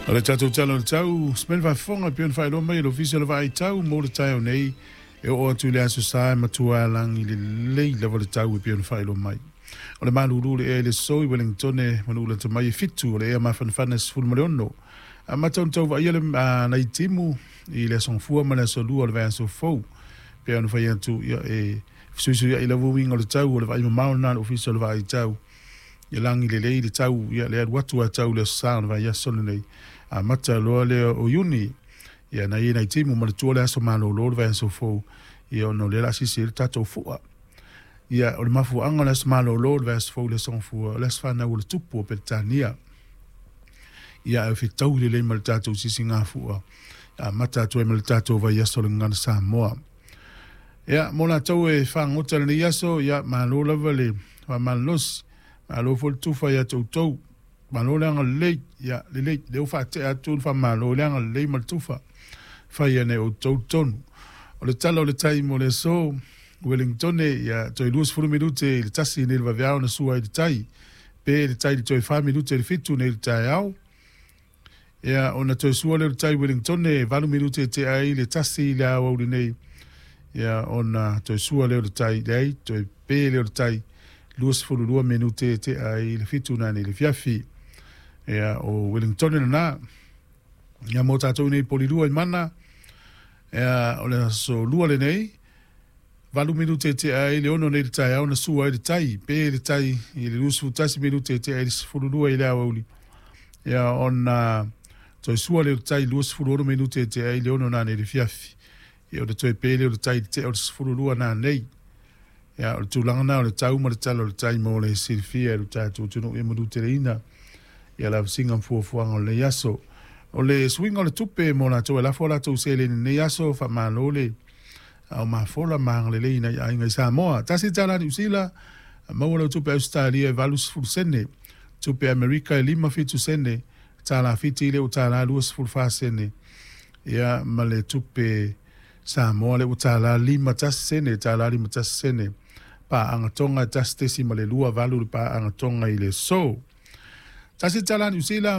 O le tatou Tala o le Tau, Simea le Faafofoga e pei ona faailoa mai e le Ofisa o le Vaai Tau mo le taeao nei, e oo atu i le Aso Sa e matua lagi lelei lava le tau e pei ona faailoa mai. O le malulu o le ea i le aso i Wellingtone ma Nu'ulata mai e 7, o le ea mafanafana e 16. Amata ona tau vaaia le nai timu i le Aso Gafua ma le Aso Lua o le vaiaso fou. Pei ona fai atu, ia, e fesuisuia'i lava uiga o le tau, o le vaai mamao lena a le Ofisa o le Vaai Tau. Ia lagi lelei le tau, ia le alu atu a tau le Aso Sa o le vaiaso lenei. Amata loa lea o Iuni, ia nai e nai timu ma le tua le aso malolo le vaiaso fou, ia ona o lea o le a sisi ai le tatou fu'a. Ia, o le mafuaaga o le aso malolo o le vaiaso fou i le Aso Gafua, o le aso fanau o le Tupu o Peretania. Ia, ae fetaui lelei ma le tatou sisigafua, amata atu ai ma le tatou vaiaso o le Gagana Samoa. Ia, mo latou e fagota i lenei aso, ia, malo lava le faamalolosi, malo foi le tufa ia te outou, malo le agalelei, ia, lelei, lea ua faatea atu le faamalo i le agalelei ma le tufa, fai ane e outou le tonu. O le tala o le tai mo le aso, Wellingtone, ia, toe 20 minute i le 1 nei le vaveao na sua ai le tai, pe le tai i le toe 4 minute i le 7 nei le taeao. Ia, ona toe sua lea o le tai Wellingtone, 8 minute e tea ai le 1 i le aoauli nei. Ia, ona toe sua lea o le tai, leai, toe pe lea o le tai, 22 minute e tea ai le 7 nanei le fiafi. Ia, o Wellingtone lena. Ia, mo tatou nei Polilua i Mana, ia, o le aso lua lenei, 8 minute e tea ai le 6 nei le taeao na sua ai le tai, pe le tai i le 21 minute e tea ai le 12 i le aoauli. Ia, ona toe sua lea o le tai 26 minute e tea ai le 6 nanei le fiafi. Ia, ona toe pe lea o le tai i le tea o le 12 nanei. Ia, o le tulaga na o le tau ma le tala o le tai mo le silafia e lo tatou atunuu ia manuteleina ia lavasiga ma fuafuaga o lenei aso. O le suiga o le tupe mo latou e lafo a latou seleni i lenei aso, faamalo le ao mafola ma agalelei i nai aiga i Samoa. $1 Niu Sila, maua lau tupe Ausetalia e 80 sene, tupe Amerika e 57 sene, tala Fiti le ua tala 24 sene, ia ma le tupe Samoa le ua tala 51 sene, tala 51 sene. Paaga Tonga e 1.28 le paaga Tonga i le aso. $1 Niu Sila.